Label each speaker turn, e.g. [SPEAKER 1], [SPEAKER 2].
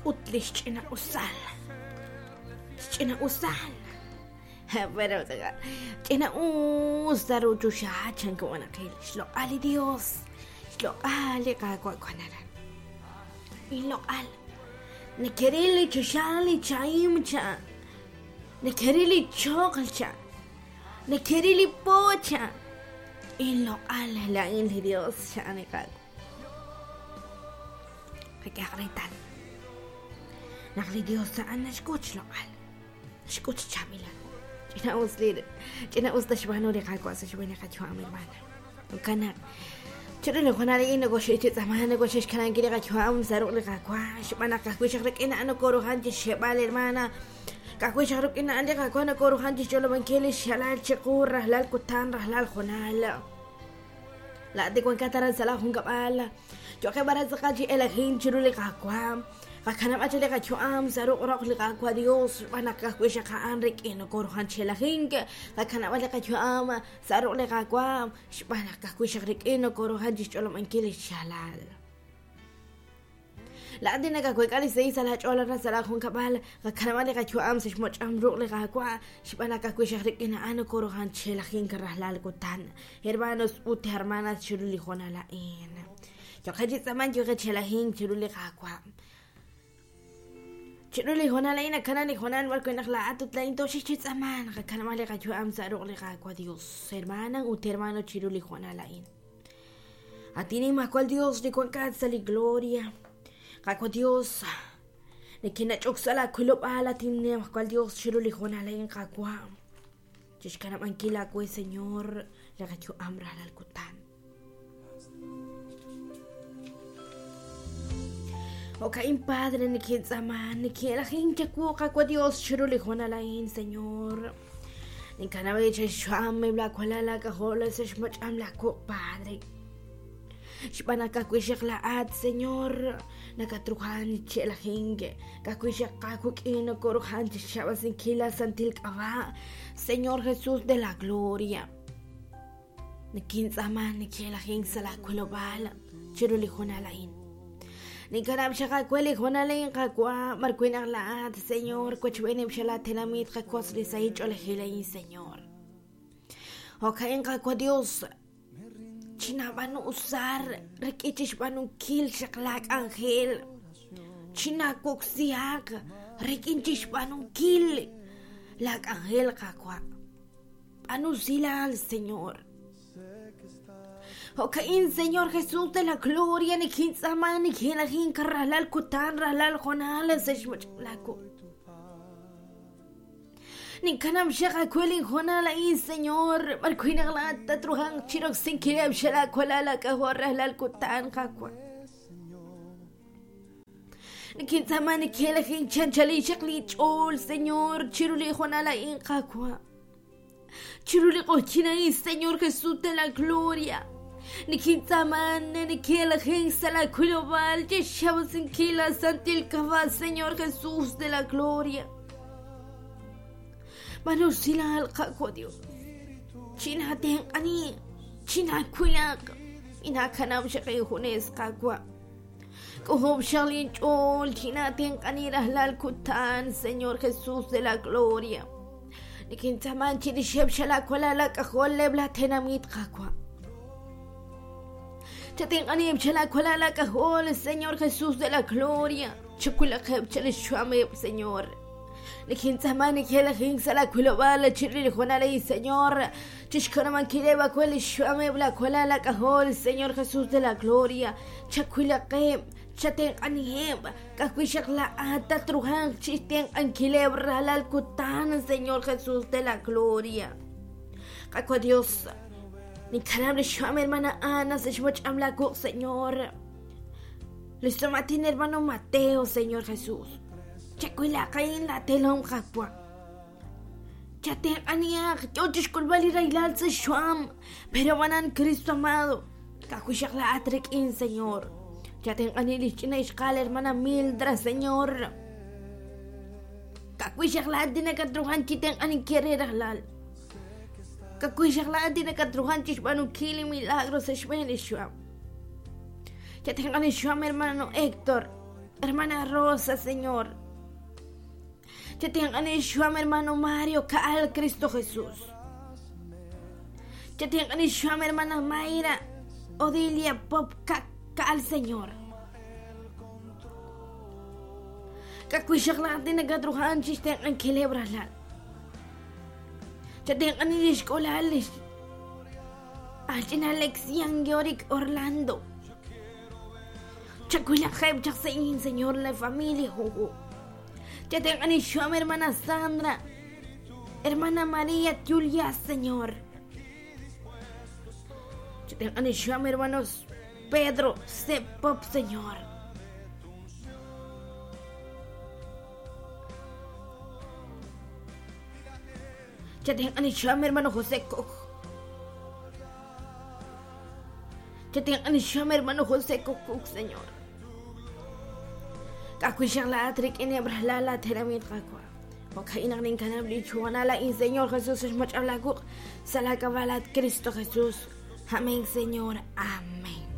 [SPEAKER 1] Naxk'ut li xch'ina'usal. Xch'ina'usal. Pero ch'ina'us sa' ru choxa chan wanaqil. Xloq'al li Dios. Xloq'al li Qaawa' wan aran. Inloq'al. Nekeril li choxa li chahim cha. Nekeril li choql cha. Nekeril li po cha. Inloq'al laa'in li Dios chan li Qaawa'. Qak'ehaq reetal naq li Dios a'an naxk'ut xloq'al, naxk'ut xchaab'ilal. Ch'ina'us li ch'ina'us naxb'aanu li Qaawa' sa' xb'een li qayu'am, hermana. Jo'kan naq chiru li hoonal a'in nokoxik chi tz'aamaak, nokoxik xkanankil li qayu'am sa' ruq' li Qaawa', xb'aan naq ka'ajwi' xaq rik'in a'an nokoruhan chixxe'b'al, hermana. Ka'ajwi' xaq rik'in a'an li Qaawa' nokoruhan chixch'olob'ankil lix xalal chiqu rajlal kutan, rajlal hoonal. Laa'at li wankat aran sa' laajunkab'al, yo'qeb' aran tz'aqal chi elajink chiru li Qaawa'. Qakanab'a chaq li qayu'am sa' ruq' roq li Qaawa' Dios, xb'aan naq ka'ajwi' xaq a'an rik'in nokoruhan chi elajink. Qakanab'a li qayu'am sa' ruq' li Qaawa', xb'aan naq ka'ajwi' xaq rik'in nokoruhan chi xch'olob'ankil li xyaalal. Laa'at li nakaweek'a li sahil sa' laach'ool aran sa' laajunkab'al, qakanab'a li qayu'am sa' xmoch'am ruq' li Qaawa', xb'aan naq ka'ajwi' xaq rik'in a'an nokoruhan chi elajink rajlal kutan. Hermanos ut hermanas chiru li hoonal a'in. Yo'qeb' chi tz'aamank, yo'qeb' chi elajink chiru li Qaawa'. Chiru li hoonal a'in nakana li hoonal b'ar wi' naq laa'at ut laa'in tooxik chi tz'aamank, qakanab'a li qayu'am sa' ruq' li Qaawa' Dios. Hermana ut hermano chiru li hoonal a'in. At Nimajwal Dios li wankat sa' li gloria, Qaawa' Dios, nikinnach'ok sa' laawilob'aal, at Nimajwal Dios, chiru li hoonal a'in, Qaawa', chixkanab'ankil aawe, Señor, li qayu'am rajlal kutan. Jo'ka'in, Padre, nikintz'aama, nikin'elajink chawu, Qaawa' Dios, chiru li hoonal a'in, Señor. Ninkanab' chi xyu'am eb' laawalal aak'ajol sa' xmach'am laawuq', Padre. Xb'aan naq ka'ajwi' xaq laa'at, Señor, nakatruhan chi elajink, ka'ajwi' xaq aawik'in nokoruhan chi xxab'asinkil laasantil k'ab'a', Señor Jesús de la Gloria. Nikintz'aama nikin'elajink sa' laawilob'aal chiru li hoonal a'in. Ninkanab' xaq aawe li hoonal a'in, Qaawa', b'ar wi' naq laa'at, Señor, wochb'eeneb' xa laatenamit qawotz li sahil ch'oolejil a'in, Señor. Jo'ka'in, Qaawa' Dios, chinaab'aanu usar rik'in chixb'aanunkil xaq laak'anjel. Chinaawoksihaq rik'in chixb'aanunkil laak'anjel, Qaawa'. B'aanu usilal, Señor. Jo'ka'in, Señor Jesús de la Gloria, nikintz'aama, nikinlajink rajlal kutan, rajlal hoonal sa' xmoch'ab' laawu. Ninkanab' xaq aawe linhoonal a'in, Señor, b'ar wi' naq laa'at tatruhanq chiroksinkileb' xal aawalal aak'ajol rajlal kutan, Qaawa'. Nikintz'aama nikinlajink chanchalin xaq linch'ool, Señor, chiru li hoonal a'in, Qaawa'. Chiru li q'oqyink a'in, Señor Jesús de la Gloria, nikintz'aaman nikinlajink sa' laawilob'aal chi xxawasinkil laasantil k'ab'a', Señor Jesús de la Gloria. B'aanu usilal, Qaawa' Dios, chinaatenq'ani, chinaawilaq, minaakanab' xaq injunes, Qaawa'. K'ojob' xaq linch'ool, chinaatenq'ani rajlal kutan, Señor Jesús de la Gloria. Nikintz'aaman chirixeb' xal aawalal aak'ajol eb' laatenamit, Qaawa'. Chatenq'aniheb' xal aawalal aak'ajol, Señor Jesús de la Gloria. Chawilaqeb' chal xyu'ameb', Señor. Nikintz'aama nikelajink sa' laawilob'aal chirix li hoonal a'in, Señor, chixkanab'ankileb' aawe li xyu'ameb' laawalal aak'ajol, Señor Jesús de la Gloria. Chawilaqeb', chatenq'aniheb', ka'ajwi' xaq laa'at tatruhanq chi xtenq'ankileb' rajlal kutan, Señor Jesús de la Gloria. Qaawa' Dios, ninkanab' li xyu'am hermana Ana sa' xmoch'am laawuq', Señor. Li xsum'aatin hermano Mateo, Señor Jesús. Chawilaq a'in laatelom, Qaawa'. Chatenq'anihaq, yo chi xk'ulb'al li rahilal sa' xyu'am. Pero b'anan Cristo amado, ka'ajwi' xaq laa'at rik'in, Señor. Chatenq'ani li xch'ina ixqa'al hermana Mildra, Señor. Ka'ajwi' xaq laa'at li nakatruhan chi tenq'aninkil re rajlal. Ka'ajwi' xaq laa'at li nakatruhan chi xb'aanunkil li milagro sa' xb'een li xyu'am. Chatenq'ani xyu'am hermano Héctor. Hermana Rosa, Señor. Chatenq'ani xyu'am hermano Mario Kaal Cristo Jesús. Chatenq'ani xyu'am hermana Mayra Odilia Pop Kaal Señor. K'akuixaq la'at nakatruhan chixtenq'ankileb' ralal. Chatenq'ani lix k'ulal lix Alch'ina Alexian Yorick Orlando. Chakuilajeb' chaq se'in Señor la familia juju. Chatenq'ani xyu'am hermana Sandra. Hermana María Julia, Señor. Chatenq'ani xyu'am hermanos Pedro C. Pop, Señor. Chatenq'ani xyu'am hermano José Koch. Chatenq'ani xyu'am hermano José Koch, Señor. K'akuixaq la'at rik'ineb' rajlal laatenamit Qaawa'. Jo'ka'in naq ninkanab' li chuwanal a'in, Señor Jesús, xmach'ab' laakuq' sa' laak'ab'a' laat Cristo Jesús. Amén, Señor. Amén.